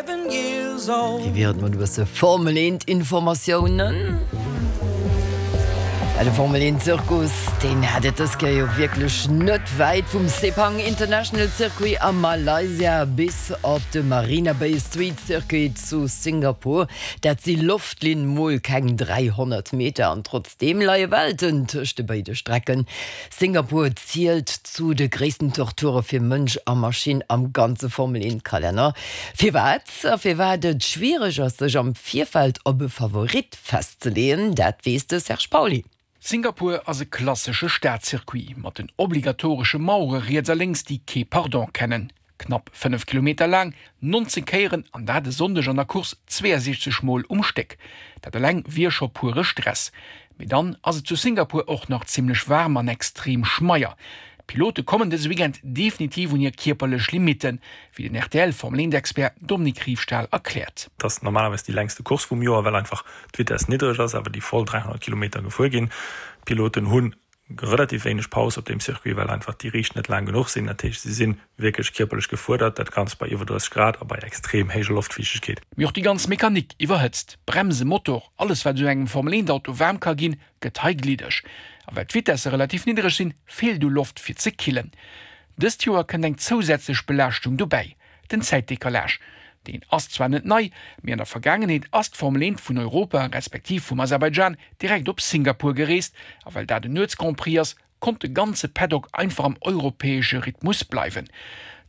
Wéi wier et mat e bësse Formel 1 Informatiounen? Ja, de Formel 1 Zirkus, deen hat et dës Kéier jo wierklech net wäit vum Sepang International Circuit a Malaysia bis op de Marina Bay Street Circuit zu Singapur. Dat si Loftlinn mol keng 300 Meter an trotzdeem leie Welten tëscht de béide Strecken. Singapur zielt zu de gréissten Torture fir Mënsch a Maschinn am ganze Formel 1 Kalenner. Firwat a firwat et schwiereg ass sech am Virfeld op e Favorit festzeleeën, dat weess de Serge Pauly. Singapur ass e klassesche Stadcircuit mat den obligatoresche Mauere riets a lénks, déi kee Pardon kennen. Knapp 5 Kilometer laang, 19 Kéieren, an dat e Sonndeg an der Course 62 Mol um Stéck. Dat eleng wier scho puere Stress. Mee dann ass et zu Singapur och nach zimmlech waarm an extrem schmeier. D'Pilote kommen dëse Weekend definitiv un hir kierperlech Limitten, wéi den RTL-Formel-Eent-Expert Dominique Riefstahl erkläert. Et ass normalerweis déi längste Course vum Joer, well einfach d'Vitess niddreg ass, awer déi voll 300 Kilometer gefuer ginn. D'Piloten hunn relativ wéineg Paus op deem Circuit, well einfach déi Riicht net laang genuch sinn. Dat heescht, si si wierklech kierperlech gefuerdert, dat Ganzt bei iwwer 30 Grad a bei extrem héijer Loftfiichtegkeet. Mee och déi ganz Mechanik iwwerhëtzt. Bremsen, Motor, alles wat esou engem Formel 1 Auto waarm ka ginn, gëtt hei gliddeg. A well d'Vitesse relativ niddereg sinn, feelt u Loft fir ze killen. Dëst Joer kënnt eng zousätzlech Belaaschtung dobäi, den Zäitdecalage. Deen ass zwar net nei, mee an der Vergaangenheet ass d'Formel 1 vun Europa, respektiv vum Aserbaidschan, direkt op Singapur gereest. A well dat en Nuets-Grand Prix ass, konnt de ganze Paddock einfach am europäesche Rhythmus bleiwen.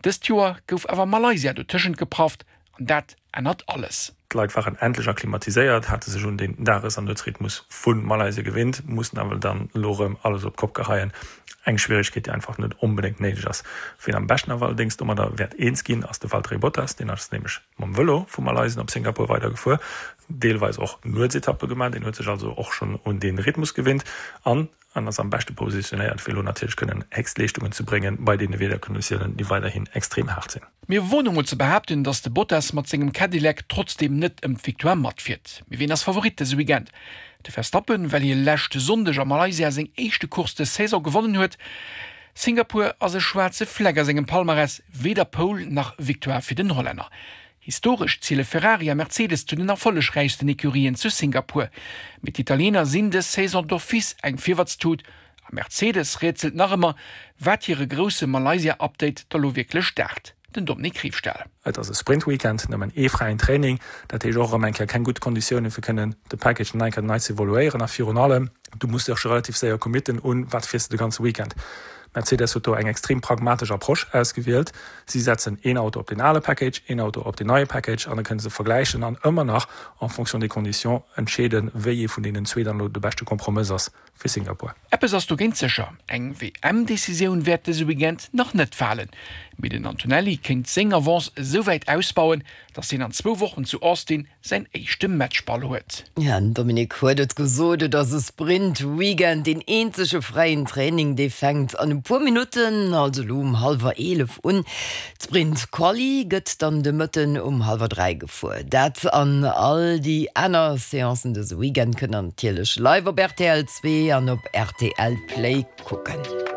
Dëst Joer gouf awer Malaysia dotëschent geprafft an dat ännert alles. D'Leit waren endlech akklimatiséiert, hate sech un den Dages an Nuetsrhythmus vu Malaysia gewinnt, mussen awer dann elo erëm alles op d'Kopp geheien. Eng Schwieregkeet, déi einfach net onbedéngt néideg ass. Wien am beschten awer allerdéngs domadder wäert eens ginn, ass de Valtteri Bottas. Deen ass nämlech mam Vëlo vu Malaysien op Singapur weidergefuer, deelweis och Nuetsetappe gemaach. Deen huet sech also och schonn un dee Rhythmus gewinnt an an ass am beschte positionéiert, fir elo natierlech kënnen Héchstleeschtungen ze bréngen bei deene Wiederkonditiounen, déi weiderhin extrem haart sinn. Mir woen emol ze behaapten, datt de Bottas mat sengem Cadillac trotzdeem net ëm d'Victoire matfiert. Mee ween ass Favorit dëse Weekend? De Verstappen, well hie leschte Sonndeg a Malaysia seng éischte Course dës Saison gewonnen huet. Singapur ass e schwaarze Fleck a sengem Palmarès, weder Pole nach Victoire fir den Hollänner. Historesch ziele Ferrari a Mercedes zu den erfollegräichsten Ecurien zu Singapur. Mee d'Italiener sinn dës Saison d'office eng Virwatstut a Mercedes rätselt nach ëmmer, wat hire grousse Malaysia-Update da lo wierklech daacht. Den Dominique Riefstahl. Et ass e Sprint-Weekend, nëmmen ee fräien Training, dat heescht och erëm eng Kéier keng gutt Konditioune fir kënnen de Package nach eng Kéier nei ze evoluéieren a virun allem, du muss dech relativ séier committen un wat fiers de de ganze Weekend. Mercedes huet do eng extrem pragmatesch Approche ausgewielt. Si setzen een Auto op deen ale Package, een Auto op deen neie Package an da kënne se vergläichen an ëmmer nach en fonction des conditions entscheeden, wéi ee vun deenen zwee dann elo de beschte Kompromëss ass fir Singapur. Eppes ass dogéint sécher, Eng WM-Decisioun wäert dëse Weekend nach net falen, mee den Antonelli kéint seng Avance esou wäit ausbauen, datt hien an zwou Wochen zu Austin säin éischte Matchball huet. Ja, den Dominique huet et gesot, et ass e Sprint-Weekend, deen eenzege fräien Training, dee fänkt an e puer Minutten, also elo um hallwer 11 un. D'Sprint-Quali gëtt dann de Mëtten um hallwer 3 gefuer. Dat an all déi aner Seancen dëse Weekend kënnt der natierlech live op rtl 2 an op rtl Play kucken.